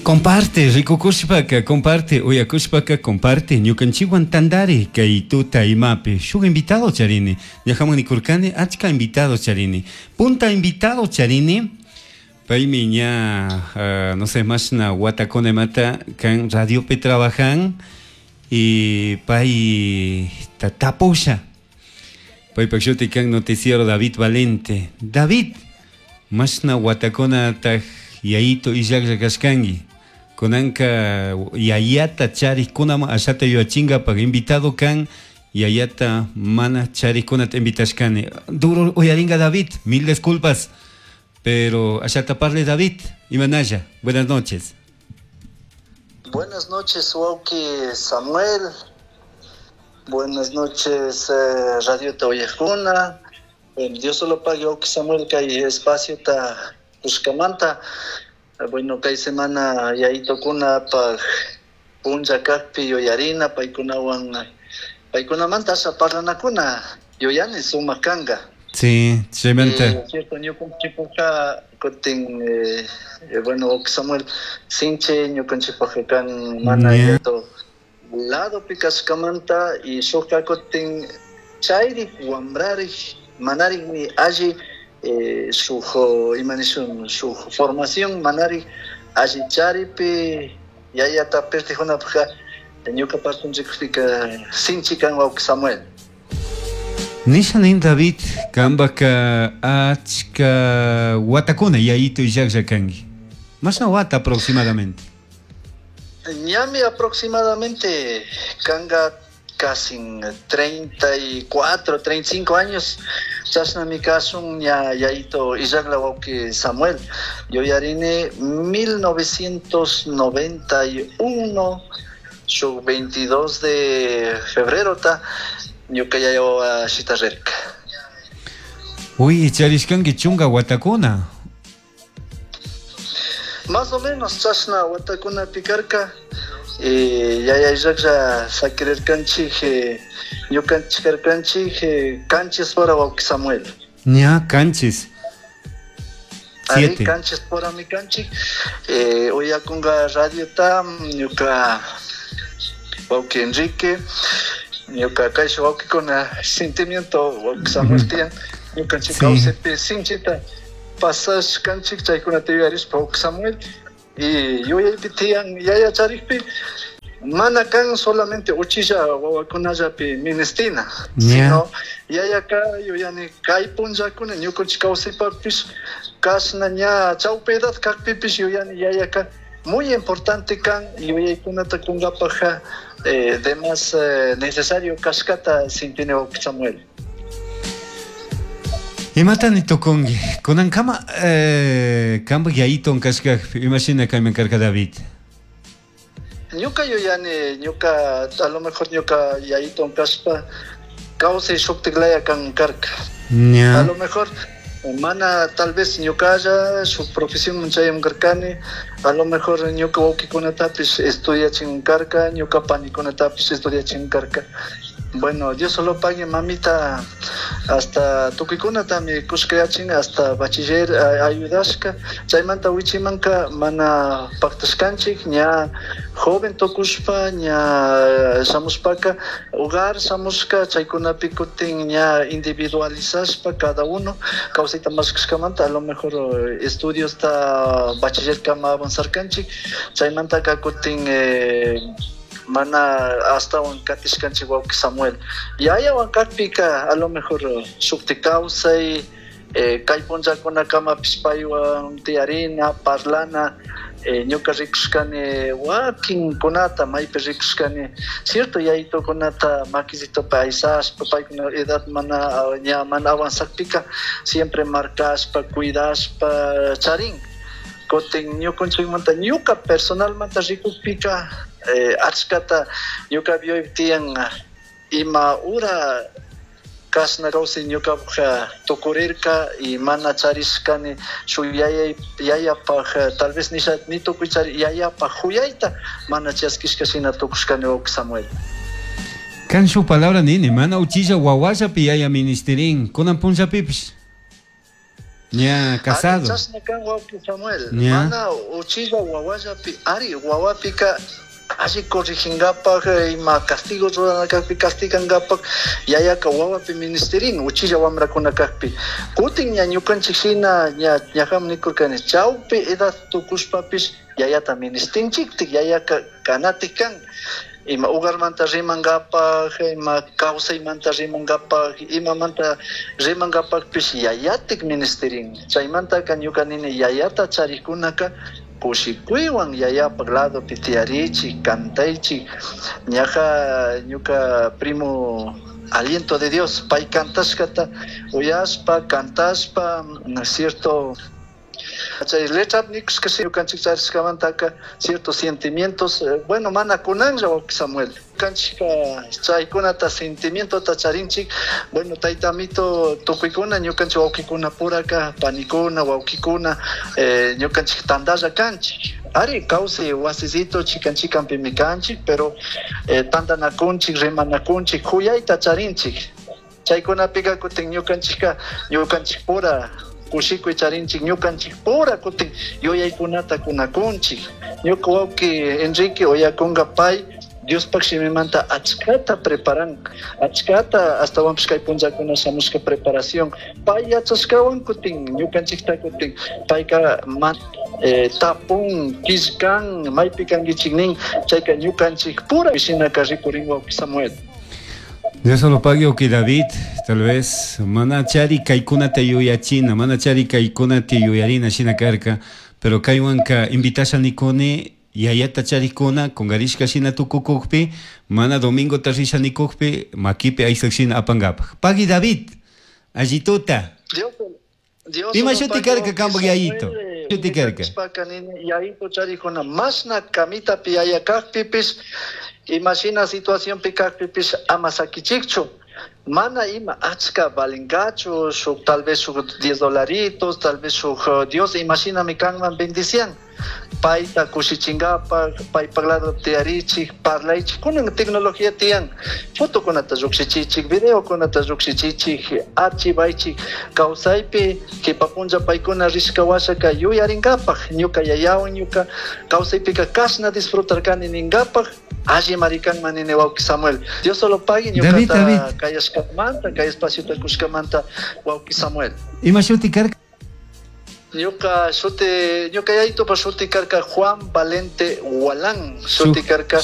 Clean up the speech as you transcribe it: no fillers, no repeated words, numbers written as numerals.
Comparte, rikukushpaka, comparte, uyakushpaka, comparte. Ñukanchikwan tantari kay tuta imapi. Shuk invitado charini. Ñajaman nikurkani, achka invitado charini. Punta invitado charini. Paymi ña, no sé, mashna watakuna imata kan radiopi trabajan y pay tapusha. Paypak shuti kan noticiero David Valente. David, mashna watakunataj yayito illaklla kashkanki. Kunanka yayata charikkunaman ashata yuyachinkapak invitado kan yayata mana charikkunata invitashkani. Duro uyaringa David, mil disculpas, pero ashata parle David. Imanalla, buenas noches. Buenas noches, wawki Samuel. Buenas noches, Radio Tauyajuna. Dios solo pague, wawki Samuel, kay espacio ta kushkamanta. Bueno, kay semana yayitokuna paj punlla kajpi yuyarina, paykunawan, paykunamanta asha parlanakuna yuyani sumak kanga. Sí, chaymanta. Cierto, ñukanchikpajka kutin, bueno, wawki Samuel, sinchi ñukanchikpajka kan mana yayito ladopi kashkamanta y shukka kutin chayrik wambrarik manarikmi alli, shuk, ima nishun, shuk formación manarik alli charipi yayata pirtijunapajka ñuka partunchikpika sinchi kan wawki Samuel. Nisha nin David, kambaka achka watakuna yayito illaklla kanki. Mashna wata aproximadamente? Ñami aproximadamente kanga casi 34, 35 años. Chashnami kasun ña yayito illakla wawki Samuel. Yuyarini 1991, shuk 22 de febrero ta, ñuka yaya wawa shitarrirka. Uy, charishkanki chunka watakuna. Más o menos chashna watakuna pikarka. Yaya illaklla sakirirkanchik, ñukanchik karkanchik, kanchis pora wawki Samuel. Ña, kanchis. Ari, Siete. kanchis pora mi kanchik. Uyakunga radio ta, ñuka wawki Enrique, ñuka kayshu wawkikuna sentimiento wawki Samuel tiyan. Ñukanchik kawsaypi sinchita pasashkanchik chaykunata yuyarishpa wawki Samuel. Y yuyaypi tiyan yaya charikpi mana kan solamente uchilla wawakunallapi ministina, sino yayaka yuyani kay punllakuna ñukanchik kawsaypakpish kashna ña chawpi edad kakpipish yuyani yayaka muy importante kan yuyaykunata kunkapajka, de más, necesario kashkata sintini wawki Samuel. Imata ni tukunki? Kunankama, kampak yayiton kashkakpi, imashina kayman karka David? Ñuka yuyani, ñuka, a lo mejor ñuka yayiton kashpa, kawsay shuktiklaya kan karka. A lo mejor, mana tal vez ñukalla, shuk profesión chayam karkani, a lo mejor ñuka wawkikunatapish estudiachin karka, ñuka panikunatapish estudiachin karka. Bueno, Dios solo pague, mamita, hasta tukuikunatami kushkayachin, hasta bachiller, ayudashka. Chaymanta wichimanka mana paktashkanchik, ña joven tukushpa, ña shamushpaka, hogar shamushka, chaykunapi kutin ña individualizashpa cada uno, kawsayta mashkashkamanta, a lo mejor estudios ta bachiller kama avanzarkanchik, chaymantaka kutin, mana hasta katishkanchik wawki Samuel. Yayawan kakpika, a lo mejor shukti kawsay, kay punllakunakamapish paywan tiyarina, parlana, ñuka rikushkani wakinkunata, maypi rikushkani, cierto yayitukunata makisitopi aysashpa, paykuna edad mana, ña mana avanzakpika, siempre markashpa, cuidashpa charin. Kutin ñukanchikmanta, ñuka personalmanta rikukpika, achkata ñuka bioy tiyan ima ura kashna kawsay ñukapaj tukurirka y mana charishkani shuk yayapaj, tal vez nisha, ni tukuy chari, yayapaj huyayta mana chaskishka shina tukushkani wawki Samuel. Kan shuk palabra nini, mana uchilla wawallapi yaya ministerin, kunan punllapipish. Ña casado. Chashna kan wawqi Samuel. Mana uchilla wawallapi ari wawapika alli corrigingapak ima castigo rurana kakpi castigangapak yayaka wawapi ministerin uchilla wamrakuna kakpi. Kutin ña ñukanchik shina ña ñajam nikurkani chawpi edad tukushpapish yayata ministinchiktik yayaka kanatik kan. Ima hogarmanta rimangapak, ima kawsaymanta rimangapak, imamanta rimangapakpish yayatik ministerin. Chaymantaka ñuka nini yayata charikkunaka kushikuywan yayapak ladopi tiyarichik, cantaychik. Ñaja ñuka primo aliento de Dios, pay cantashkata uyashpa, cantashpa, cierto chay letra nikushka ñukanchik charishkamantaka ciertos sentimientos, bueno, mana kunanlla wawqi Samuel. Ñukanchikka chaykunata sentimientota charinchik, bueno, tayta amito tukuykuna ñukanchik wawqikunapuraka, panikuna, wawqikuna, ñukanchik tantalla kanchik. Ari kawsay wasisito chikan chikanpimi kanchik, pero tantanakunchik, rimanakunchik, kuyayta charinchik. Chaykunapika kutin ñukanchikka ñukanchikpura kushikuy charinchik, ñukanchikpura kutin yuyaykunata kunakunchik. Ñuka wawqi Enrique uyakunka pay Diospak shimimanta achkata preparan, achkata astawanpish kay punllakuna shamushka preparación. Pay yachashkawan kutin ñukanchikta kutin payka tapun, killkan, maypi kankichik nin, chayka ñukanchikpura shinaka rikurin wawqi Samuel. Dios lo pague, ok, David, tal vez mana chari kaykunata yuyachina, mana chari kaykunata yuyarina shina karka, pero kaywanka invitasha nikuni yayata charikuna kungarishka shina tukukukpi, mana domingo risha nikukpi, makipi aysak shina apangapak. Pagui David, allituta. Dios, Ima shuti karka kampak yayito? Shuti karka. Yayito charikuna mashna kamitapi yaya kakpipish, imashina situacionpi kakpipish ama sakichikchu. Mana ima achka valingachu, shuk tal vez shuk 10 dolaritos, tal vez shuk Dios imashinami kanman bendician. Payta kushichingapak, paypak lado tiyarichik, parlaychik, kunan tecnología tiyan, fotokunata llukshichichik, videokunata llukshichichik, archivaychik, kawsaypi kipa punlla paykuna rishka washaka yuyaringapak, ñuka yayawan ñuka kawsaypika kashna disfrutarkani ningapak, alli marikanman nini wawqi Samuel. Dios solo pague ñukata kayashkamanta, kay espaciota kushkamanta wawqi Samuel. Ima shuti karka? Ñuka shuti, ñuka yayitupa shuti karka Juan Valente Hualán, shuti karka.